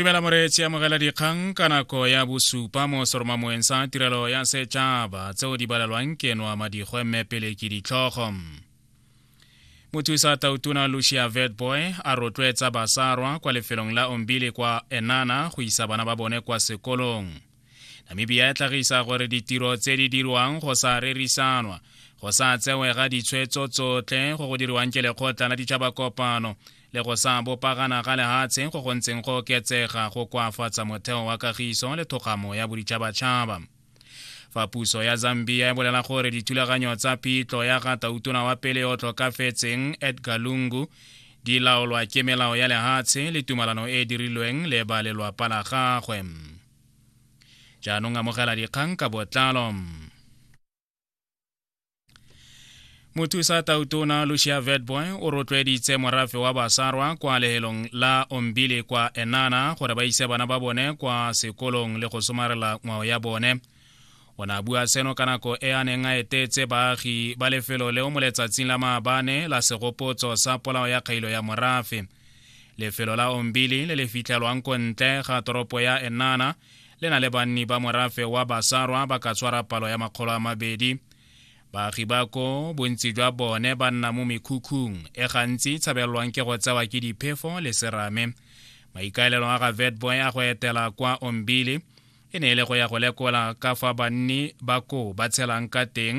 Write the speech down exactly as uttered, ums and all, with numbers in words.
Dumela moreetsi, amogela dikgang ka nako ya bosupa mo seromamoeng sa tirelo ya setšhaba tseo di balelwang ke noa madigwe, mme pele ke ditlhogo. Mothusa tautona Lucia Witbooi a rotloetsa basarwa kwa lefelong la Ombili kwa Eenhana go isa bana ba bone kwa sekolong. Namibia e tlhagisa gore ditiro tse di dirwang go sa rerisanwa, go sa tsewega ditshwetso tsotlhe go go diriwang ke lekgotla la ditšhaba kopano le go sa bopagana ga lehatshe go go ntseng go oketsega go koafatsa motheo wa kagiso le thokgamo ya boditšhabatšhaba. Fa puso ya Zambia e bolela gore dithulaganyo tsa phitlho ya ga tautona wa pele yo tlhokafetseng Edgar Lungu di laolwa ke melao ya lehatshe le tumalano e e dirilweng le ba lelwapa la gagwe. Jaanong amogela dikgang ka botlalo. Mothusa tautona Lucia Witbooi o rotloeditse morafe wa basarwa kwa lehelong la Ombili kwa Eenhana gore ba ise bana ba bone kwa sekolong le go somarela ngwao ya bone. O ne a bua seno ka nako e a neng a etetse baagi ba lefelo leo mo letsatsing la maabane la segopotso sa polao ya kgailo ya morafe. Lefelo la Ombili le le fitlhelwang ko ntle ga toropo ya Eenhana le na le banni ba morafe wa basarwa ba ka tshwara palo ya makgolo a mabedi. Baagi ba ko bontsi jwa bone ba nna mo mekhukhung e gantsi tshabelelwang ke go tsewa ke diphefo le serame. Maikaelelo a ga Witbooi a go etela kwa Ombili e ne e le go ya go lekola ka fa banni ba ko ba tshelang ka teng